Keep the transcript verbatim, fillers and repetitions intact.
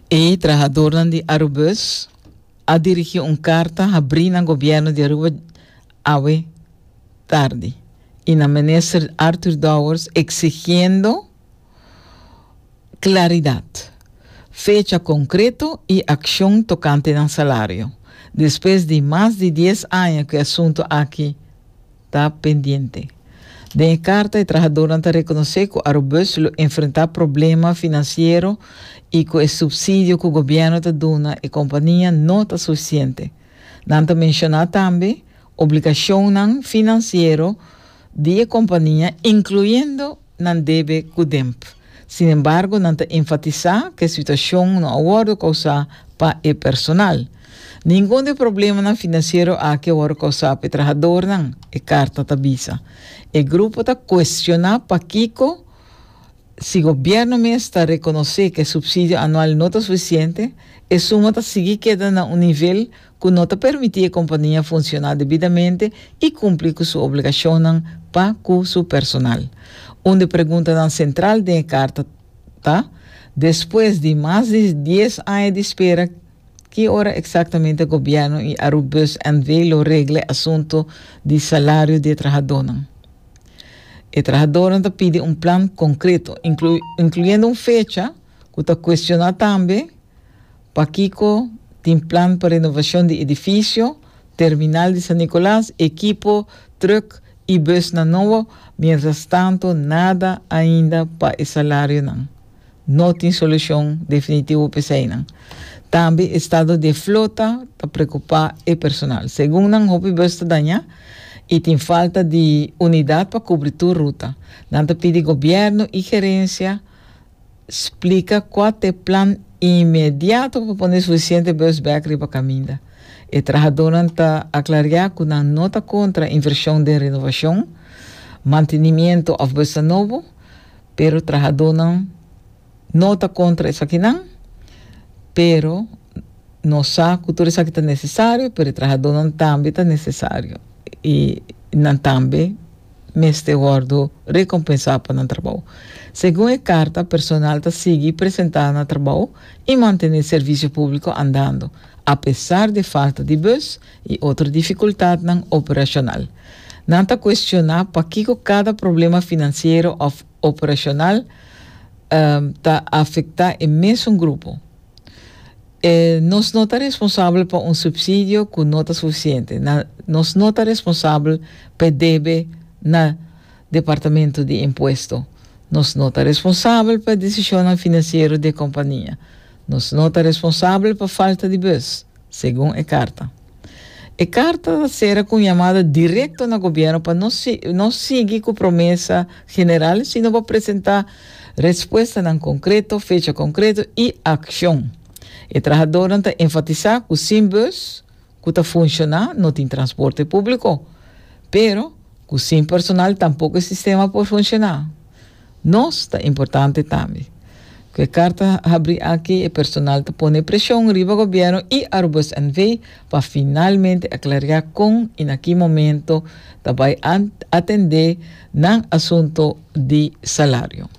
E trahadornan di Arubus a dirigi un carta habri na gobierno di Aruba awe tardi y na minister Arthur Dowers, exigiendo claridad, fecha concreto y accion tocante nan salario, despues di mas di dies aña cu e asunto aki ta pendiente. Den e carta, e trahadornan ta reconoce cu Arubus lo enfrenta problema financiero y cu e subsidio cu gobierno ta duna e compania no ta suficiente. Nan ta menciona tambe obligacion financiero di e compania, incluyendo nan debe cu D E M P. Sin embargo, nan ta enfatisa cu e situacion no a wordo causa pa e personal. "Ningun di e problemanan financiero aki a wordo causa pa e trahadornan", e carta ta bisa. E grupo ta cuestiona pakico, si gobierno mes ta reconoce cu e subsidio anual no ta suficiente, e suma ta sigui keda na un nivel cu no ta permiti e compania funciona debidamente y cumpli cu su obligacion pa cu su personal. Un di e preguntanan central di e carta ta: despues di mas di dies aña di espera, ki ora exactamente gobierno y Arubus N V lo regla e asunto di salario di trahadornan? E trahadornan ta pidi un plan concreto, inclu incluyendo un fecha, cu ta cuestiona tambe pakico tin plan pa renovacion di edificio, terminal di San Nicolas, ekipo, truck y busnan nobo, mientras tanto nada ainda pa e salarionan. No tin solucion definitivo pa esey. Tambe estado di flota ta preocupa e personal. Segun nan, hopi bus ta daña y tin falta di unidad pa cubri tur ruta. Nan ta pidi gobierno y gerencia splica cua ta e plan inmediato pa pone suficiente bus back riba caminda. E trahadornan ta aclara cu nan no ta contra inversion di renovacion, mantenimento of bus nobo, pero trahadornan no ta contra esakinan, pero nos sa cu tur esaki ta necesario, pero e trahadornan tambe ta necesario. Y nan tambe mester wordo recompensa pa nan trabou. Segun e carta, personal ta sigui presenta na trabou y mantene servicio publico andando, apesar di falta di bus y otro dificultad operacional. Nan ta cuestiona pakico cada problema financiero of operacional um, ta afecta e mesun grupo. Eh, nos no ta responsabel pa un subsidio cu no ta suficiente. Na, nos no ta responsabel pa debe na Departamento di Impuesto. Nos no ta responsabel pa decision financiero di e compania. Nos no ta responsabel pa falta di bus, segun e carta. E carta ta cera cu yamada directo na gobierno pa no, si, no sigui cu promesa general, sino pa presenta respuestanan concreto, fecha concreto y accion. E trahadornan ta enfatisa cu sin bus, cu ta funciona, no tin transporte publico. Pero, cu sin personal tampoco e sistema por funciona. Nos ta importante tambe. Cu e carta habri aki, e personal ta pone presion riba gobierno y Arubus N V pa finalmente aclara con y na ki momento ta bay atende nan asunto di salario.